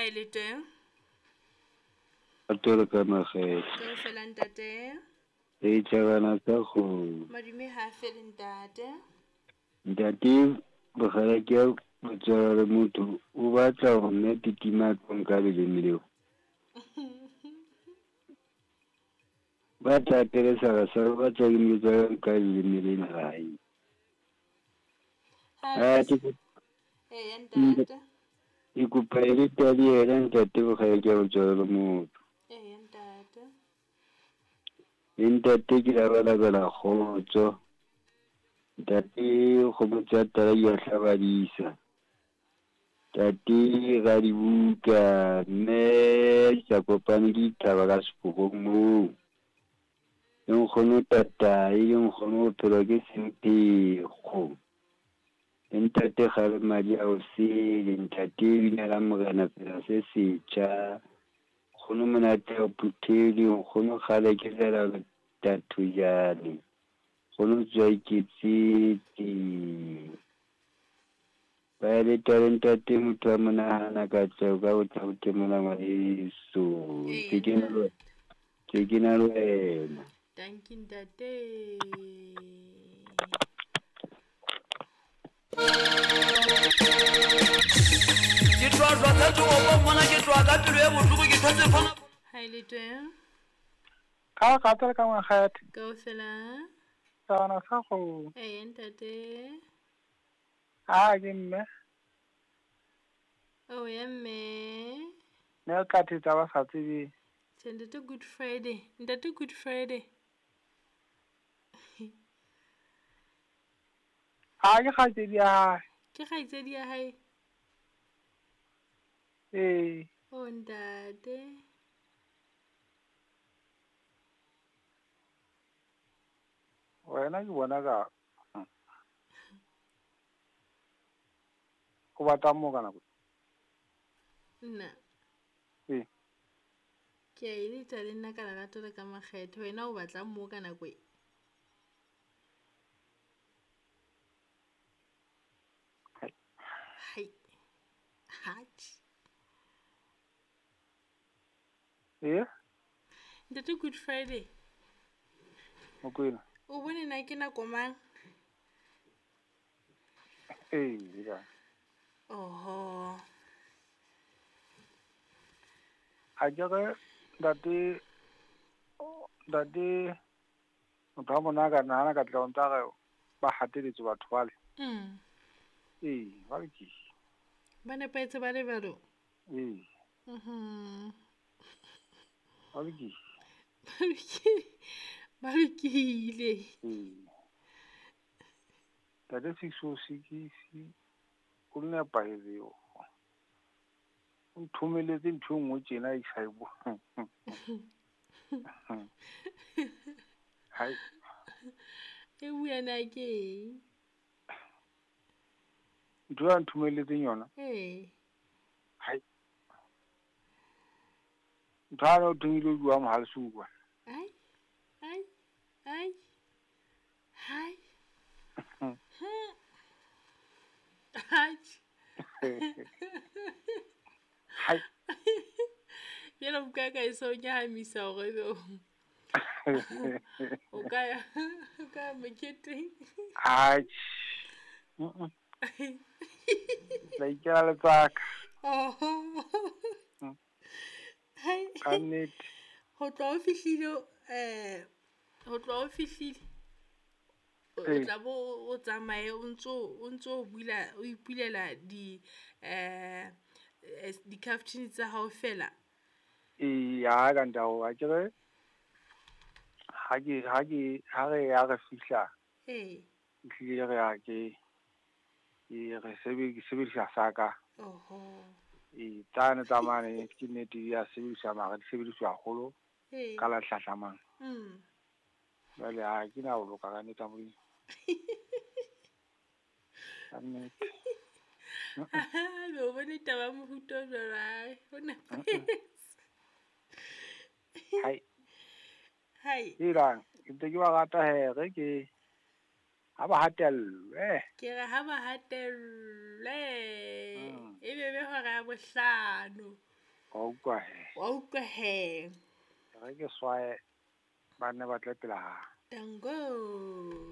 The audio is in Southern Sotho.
Ha e le teng. Atolo ka makgethe. Kaofela ntate. Re tjhabana sa kgomo. Madume ha a fele ntate. Ntate bokgeleke ya botswala le motho o batla hore mme Titima a tlo nka leleme leo. Ba tla telesara sa o batla ke motsa nka leleme lena la hae. Ha Eya ntate. Ke kopa e le tali yena ntate bokgeleke ya botswala le motho. Eya ntate. Le ntate ke labalabela kgotso. Ntate kgomo tsa tala di a hlabadisa. Ntate Radibuka mme di sa kopane ke dithaba ka seporong moo. Le nkgono tatae, le nkgono bophelo ke semphekgo. Le ntate kgale madi a o sele, ntate bina la morena phela se setjha. Nkgono monate a o phuthele, nkgono kgale ke lela tathojane. Nkgono tswa iketsetse. Ba le tale ntate motho a monahana katleho ka bothabo mona ngwaneso. Ee, Ke ke na le ke ke na le wena. Dankie ntate. Ke tloa tloa tsa tsogo mmona ke tloa ka pelo e bohloko ke thotse fana. Ha e le teng. Ka ga tsela ka makgethe. Kaofela. Tsana sa go. Eya ntate. A ke mme. Oh ya mme. Ne re tla thetsa ba sa tsebeng. Tjhe ntate Good Friday. Ntate Good Friday. A ke kgaitsedi ya hae. Ke kgaitsedi ya hae. Ee. Oh ntate. Wena ke bona ka o batlang mo ka nako? Nna. Ee. Ke a eletsa le nna ka lerato le ka makgethe. Wena o batlang mo ka nako e? Hai. Hatjhe. Ee? Ntate Good Friday. Mokwena. O bone na ke nako mang? Ee, ya. Oho. A ke re ntate ntate motho wa mona ka nahana ka tla ntsa re ba hateletswe batho bale. Ee, ba lokile. Ba nepahetse ba le jwalo? Ee. Mhm. Ba lokile. Ba lokile. Ba lokile. Ee. Ntate 606 o nepahetse o. O nthomeletse ntho e nngwe tjena e sa e bo. Hai. E bua na ke eng? Ntho ya nthomeletseng yona? Ee. Hai. Ntho ya o thomile o bua mohalesuwa. Ai. Ai. Ai. Hai. Atjhe. Hai. Jwale buka ka e so nyahamisa hore ebe o ka ya moketeng. Atjhe. La ikela letsaka. Oho. Hai. Ka nnete. Ho tloha o fihlile ho tloha o fihlile. O tla bo o tsamaye o ntso bula o ipulela di di-caption tsa hao fela. Ee, ha ka ntao a ke re ha ke ha re ya re fihla. Ee. Ehlile re ya ke re sebedisa saka. Oho. Ee, tsane tsa mane ke nnete di a sebediswa mara di sebediswa haholo ka la hlahlamang. Jwale ha ke na ho loka ka nnete ya Modimo. Ka nnete. Be o bone taba ya mofuta o jwalo, hai, ho nepahetse. Hai. Hai. Helang, ke ntse ke ba rata he re ke ha ba hatellwe. Ke re ha ba hatellwe. E be be hora ya bohlano. Wa utlwa he. Wa utlwa he. Re ke swaye ba nne ba tle pela ha. Tango.